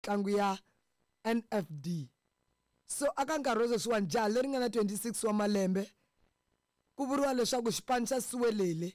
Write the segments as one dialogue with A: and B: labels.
A: Mitlangu ya NFD. So aka nkarhi wa sweswiwani jaha leri nga na 26 wa malembe ku vuriwa leswaku xipano xa Siwelele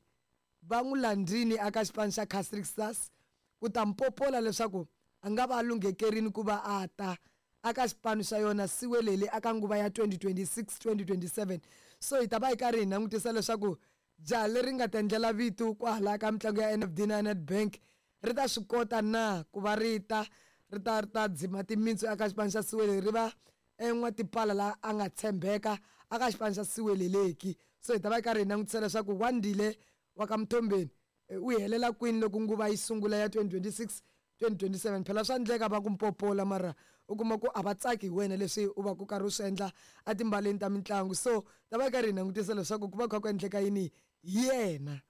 A: va n'wi landzini aka xipano xa Casric Stars ku ta mpopola leswaku a nga va a lunghekerini ku va a ta aka xipano xa yona Siwelele aka nguva ya 2026-2027. So hi ta va hi karhi hi langutisa leswaku Jaha leri nga ta endlela vito kwahala ka mitlangu ya NFD na Nedbank ri ta swi kota na ku va ri ta ri ta ri ta dzima timitsu eka xipano xa Siwele ri va n'watipala la a nga tshembeka aka xipano xa Siweleleki. So hi ta va hi karhi hi langutisa leswaku Wandile wa ka Mthombeni u helela kwini loko nguva yi sungula ya 2026 2027. Phela swa ndleka va ku mpopola mara u kuma ku a va tsaki hi wena leswi u va ku karhi u swi endla etimbaleni ta mitlangu. So ta va yi karhi hi langutisa leswaku ku va kha ku endleka yini hi yena.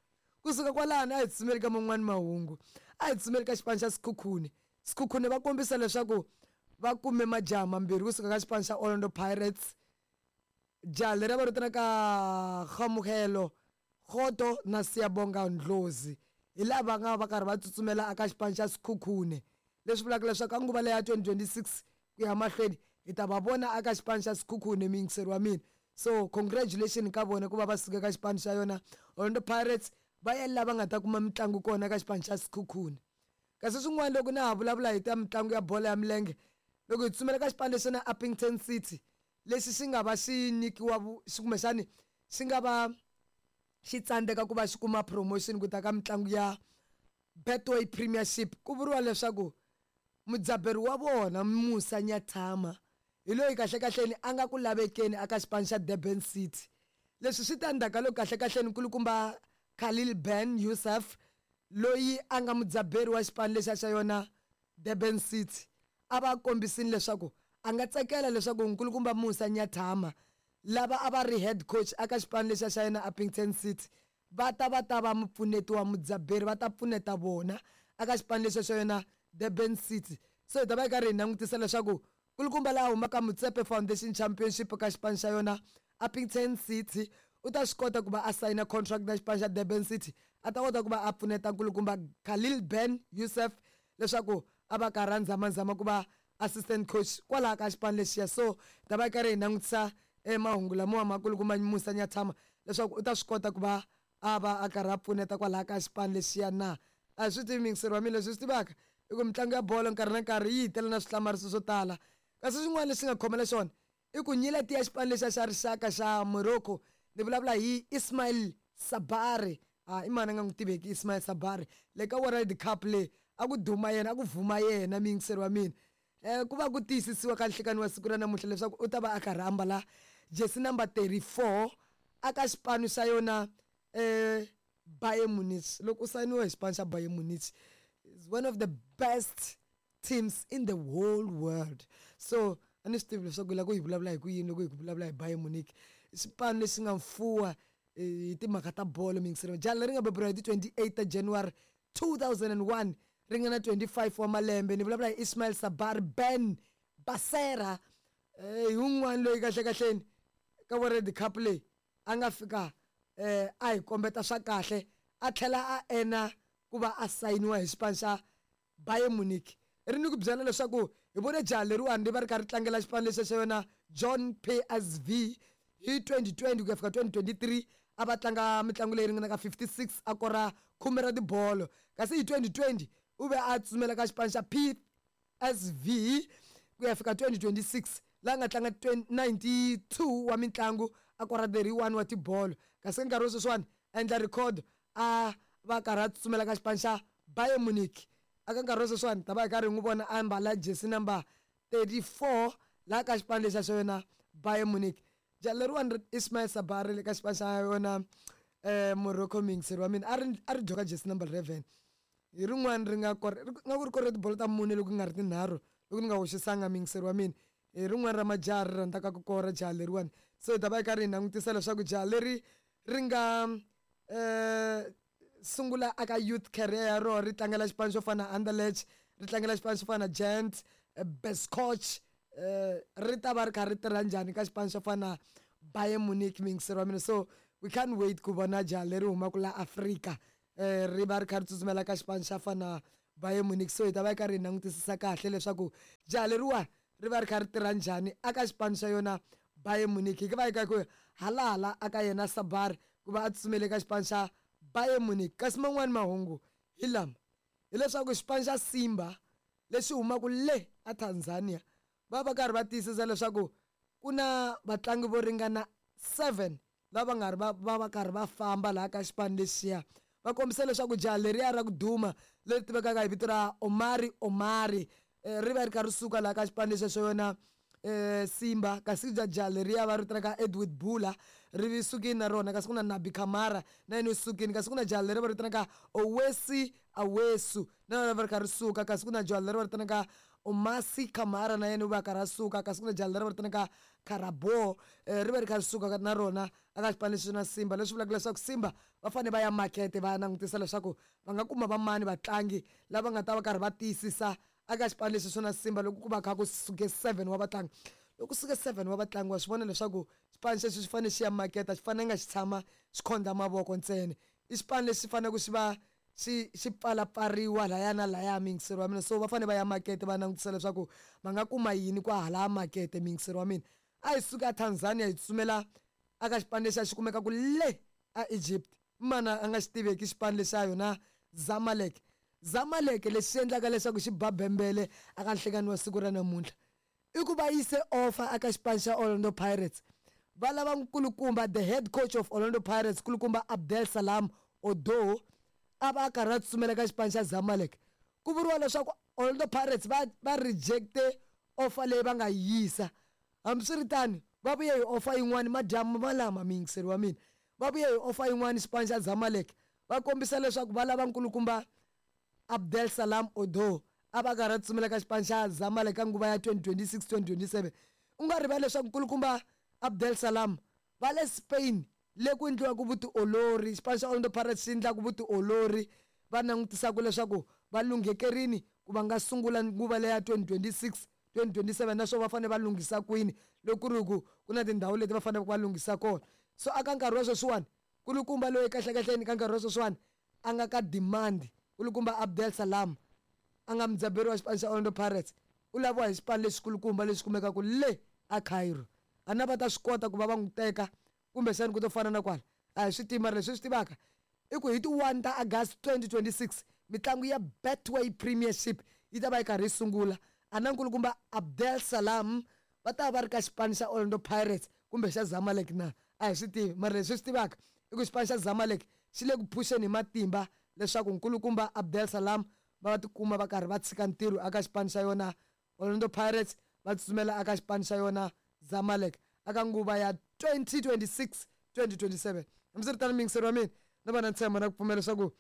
A: Kusuka kwalano a hi tsutsumeli ka man'wani mahungu. A hi tsutsumeli ka xipano xa Sekhukhune. Sekhukhune va kombisa leswaku va kume majaha mambirhi kusuka ka xipano xa Orlando Pirates. Jaha leri a va ri vitanaka Kgamogelo Kgoto na Siyabonga Ndlozi hi lava nga va karhi va tsutsumela eka xipano xa Sekhukhune, leswi vulaka leswaku ka nguva leya 2026 ku ya mahlweni hi ta va vona eka xipano xa Sekhukhune muyingiseri wa mina. So congratulation ka vona ku va va suka eka xipano xa yona Orlando Pirates va ya la va nga ta kuma mitlangu kona eka xipano xa Sekhukhune. Kasi swin'wana loko na ha vulavula hi ta mitlangu ya bolo ya milenge, loko hi tsutsumela ka xipano lexi na Upington City lexi xi nga va xi nyikiwa kumbexani xi nga va xi tsandzeka ku va xi kuma promotion ku ta ka mitlangu ya Betway Premiership. Ku vuriwa leswaku mudzaberi wa vona Musa Nyathama hi loyi kahlekahleni a nga ku lavekeni aka xipano xa Durban City. Leswi swi ta ndzhaku ka loko kahlekahleni nkulukumba Khalil Ben Youssef loyi a nga mudzaberi wa xipano lexiya xa yona Durban City a va kombisini leswaku a nga tsakela leswaku nkulukumba Musa Nyathama lava a va ri head coach aka xipano lexiya xa yena Upington City va ta va ta va mupfuneti wa mudzaberi va ta pfuneta vona aka xipano lexiya xa yona Durban City. So hi ta va hi karhi hi langutisa leswaku nkulukumba laha humaka Motsepe Foundation Championship ka xipano xa yona Upington City u ta swi kota ku va a sayina contract na xipano xa Durban City a ta kota ku va a pfuneta nkulukumba Khalil Ben Youssef leswaku a va karhi a nzamazama ku va assistant coach kwalaha ka xipano lexiya. So hi ta va hi karhi hi langutisa e mahungu lamawa ma kulukumba Musa Nyathama leswaku u ta swi kota ku va a va a karhi a pfuneta kwalaha ka xipano lexiya na. A hi swi tivi muyingiseri wa mina, leswi hi swi tivaka i ku mitlangu ya bolo nkarhi na nkarhi yi hi tela na swihlamariso swo tala. Kasi xin'wana lexi nga khomela xona i ku nyileti ya xipano lexiya xa rixaka xa Morocco, ni vulavula hi Ismail Sabari. A i mani a nga n'wi tiveki Ismail Sabari le ka World Cup leyi a ku duma yena, a ku vuma yena muyingiseri wa mina. Ku va ku tiyisisiwa ka nhlekani wa siku ra namuntlha leswaku u ta va a karhi a ambala jersey number 34 aka xipano xa yona Bayern Munich. Loko u sayiniwe hi xipano xa Bayern Munich, is one of the best teams in the whole world. So a ni swi tivi leswaku hi lava ku hi vulavula hi ku yini loko hi ku vulavula hi Bayern Munich. I xipano lexi nga mfuwa hi timhaka ta bolo muyingiseri. Jaha leri nga beburiwa hi ti 28 ta January 2001 ri nga na 25 wa malembe, ni vulavula hi Ismail Sabar Ben Basera. Hi wun'wana loyi kahlekahleni ka World Cup leyi a nga fika a hi kombeta swa kahle a tlhela a ena ku va a sayiniwa hi xipano xa Bayern Munich. Ri ni ku byela leswaku hi vone jaha leriwani ri va ri karhi ri tlangela xipano lexiya xa yona John PSV hi 2020 ku ya fika 2023, a va tlanga mitlangu leyi ringanaka 56 a kora khume ra tibolo. Kasi hi 2020 u ve a tsutsumela ka xipano xa PSV ku ya fika 2026 laha nga tlanga 92 wa mitlangu a kora 31 wa tibolo. Kasi ka nkarhi wa sweswiwani a endla record a va karhi a tsutsumela ka xipano xa Bayern Munich. Aka nkarhi wa sweswiwani ta va hi karhi hi n'wi vona a ambala jersey number 34 laha ka xipano lexiya xa yona Bayern Munich. Jaha leriwani ri Ismail Sabari le ka xipano xa yona Morocco muyingiseri wa mina a ri a ri dyoka jersey number 11. Hi rin'wani ri nga kora nga ku ri kore tibolo ta mune loko ku nga ri tinharhu loko ni nga hoxisanga muyingiseri wa mina. Hi rin'wani ra majaha ri rhandzaka ku kora jaha leriwani. So hi ta va hi karhi hi langutisa leswaku jaha leri ri nga sungula aka youth career ya rona ri tlangela xipano xo fana na Anderlecht, ri tlangela xipano xo fana na Gent, Beşiktaş, ri ta va ri kha ri tirha njhani ka xipano xo fana na Bayern Munich muyingiseri wa mina. So we can't wait ku vona jaha leri humaka la Afrika ri va ri kha ri tsutsumela ka xipano xa fana na Bayern Munich. So hi ta va hi karhi hi langutisisa kahle leswaku jaha leriwa ri va ri kha ri tirha njhani aka xipano xa yona Bayern Munich. Hi va hi ka ku halahala aka yena Sabar ku va a tsutsumele ka xipano xa Bayern Munich. Kasi man'wani mahungu hi lama, hileswaku xipano xa Simba lexi humaka le a Tanzania va va karhi va tiyisisa leswaku ku na vatlangi vo ringana 7 lava nga ri va va va karhi va famba laha ka xipano lexiya. Va kombisa leswaku jaha leriya ra ku duma leri tivekaka hi vito ra Omari Omari ri va ri kha ri suka laha ka xipano lexiya xa yona Simba, kasi jaha leriya va ri vitanaka Edward Bula ri sukile na rona, kasi ku na Nabi Kamara na yena u sukile, kasi ku na jaha leri va ri vitanaka Owesi Awesu na yona va ri kha ri suka, kasi ku na jaha leri va ri vitanaka Omasi Kamara na yena u va karhi a suka, kasi ku na jaha leri va ri vitanaka Karabo ri va ri kha ri suka na rona aka xipano lexi na Simba, leswi vulaka leswaku Simba va fanele va ya makete va ya langutisa leswaku va nga kuma va mani vatlangi lava nga ta va karhi va tiyisisa aka xipano lexi swo na Simba loko ku va kha ku suke 7 wa vatlangi. Loko ku suke 7 wa vatlangi wa swi vona leswaku xipano xexo xi fanele xi ya makete, a xi fanelanga xi tshama xi khondla mavoko ntsena. I xipano lexi faneleke xi va xi xi pfalapfariwa laya na laya, muyingiseri wa mina. So va fanele va ya makete va langutisa leswaku va nga kuma yini kwahalaya makete, muyingiseri wa mina. A hi suka Tanzania hi tsutsumela aka xipano lexi a xi kumekaka le a Egypt. Mana a nga xi tiveki xipano lexa yona Zamalek. Zamalek lexi xi endlaka leswaku xi ba bembele aka nhlekani wa siku ra namuntlha i ku va yise offer aka xipano xa Orlando Pirates. Va lava nkulukumba the head coach of Orlando Pirates nkulukumba Abdel Salam Odo a va a karhi a tsutsumela ka xipano xa Zamalek. Ku vuriwa leswaku Orlando Pirates va va rejecte offer leyi va nga yisa. Hambiswiritano va vuye hi offer yin'wani madyambu malama, muyingiseri wa mina. Va vuye hi offer yin'wani xipano xa Zamalek va kombisa leswaku va lava nkulukumba Abdel Salam Odo a va karhi a tsutsumela ka xipano xa Zamalek ka nguva ya 2026-2027. U nga rivali leswaku nkulukumba Abdel Salam va le Spain le ku endliwaka vutiolori, xipano xa Orlando Pirates xi endlaka vutiolori, va langutisaka leswaku va lunghekerini ku va nga sungula nguva leya 2026-2027, naswona va fanele va lunghisa kwini loko ku ri ku ku na tindhawu leti va faneleke va lunghisa kona. So aka nkarhi wa sweswiwani kulukumba loyi kahlekahleni ka nkarhi wa sweswiwani a nga ka demand, kulukumba Abdel Salam a nga mudzaberi wa xipano xa Orlando Pirates u laviwa hi xipano lexikulukumba lexi kumekaka le a Cairo. A na va ta swi kota ku va va n'wi teka kumbexani ku to fana na kwala a hi swi tivi, mara leswi swi tivaka i ku hi ti 1 ta August 2026 mitlangu ya Betway Premiership yi ta va yi karhi yi sungula. A na nkulukumba Abdel Salam va ta va ri ka xipano xa Orlando Pirates kumbe xa Zamalek na a hi swi tivi, mara leswi swi tivaka i ku xipano xa Zamalek xi le ku phuxeni hi matimba leswaku nkulukumba Abdel Salam va va tikuma va karhi va tshika ntirho aka xipano xa yona Orlando Pirates va tsutsumela aka xipano xa yona Zamalek aka nguva ya 2026-2027. Hambiswiritano muyingiseri wa mina no va na ntshembo na ku pfumela leswaku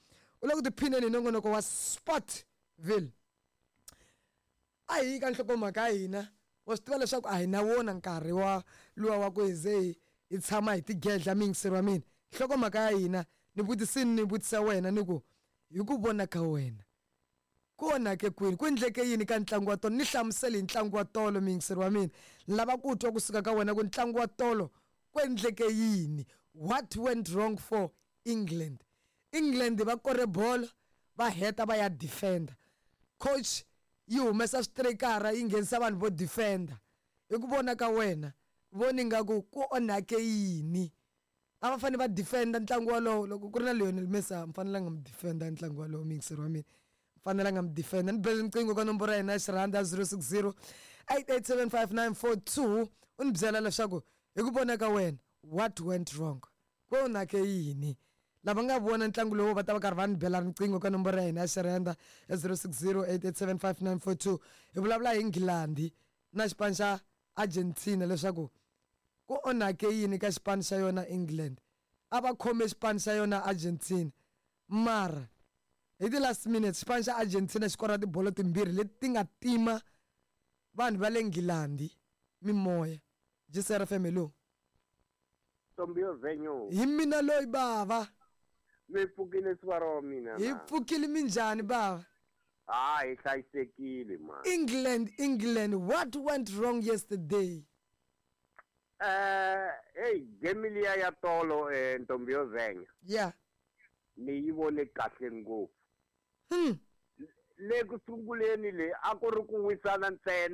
A: u le ku tiphineni hi nongonoko wa Sportville. A hi yi ka nhlokomhaka ya hina, wa swi tiva leswaku a hi na wona nkarhi wa luwa wa ku hi ze hi tshama hi tigedla, muyingiseri wa mina. Nhlokomhaka ya hina ni vutisini ni vutisa wena ni ku hi ku vona ka wena ku onhake kwini, ku endleke yini ka ntlangu wa tolo? Ni hlamusele hi ntlangu wa tolo, muyingiseri wa mina. Ni lava ku twa kusuka ka wena ku ntlangu wa tolo ku endleke yini. What went wrong for England? England va kore bolo va heta va ya defender. Coach yi humesa switirikara yi nghenisa vanhu vo defender. Hi ku vona ka wena voni nga ku ku onhake yini? A va fanele va defender ntlangu wolowo. Loko ku ri na Lionel Messi a mi fanelanga mi defender ntlangu wolowo, muyingiseri wa mina. Mi fanelanga mi defender. Ni bele riqingho ka nomboro ya hina ya xirhanda 060 8875942 u ni byela leswaku hi ku vona ka wena what went wrong, ku onhake yini. Lava nga vona ntlangu lowu va ta va karhi va ni bela riqingho ka nomboro ya hina ya xirhanda ya 060 8875942. Hi vulavula hi Nghilandhi na xipano xa Argentina leswaku ku onhake yini ka xipano xa yona England. A va khome xipano xa yona Argentina, mara hi ti last minutes xipano xa Argentina xi kora tibolo timbirhi leti ti nga tima vanhu va le Nghilandhi mimoya. GCR FM, hello.
B: Ntombi yo venyo.
A: Hi mina loyi bava.
B: Mi pfukile siku ra mina.
A: Hi pfukile, minjhani bava?
B: Ah, hi hlayisekile man.
A: England, England, what went wrong yesterday?
B: Hey, game liya ya tolo ntombi yo venya. Ni yi vone kahle ngopfu. Le ku sunguleni le a ku ri ku wisana ntsena.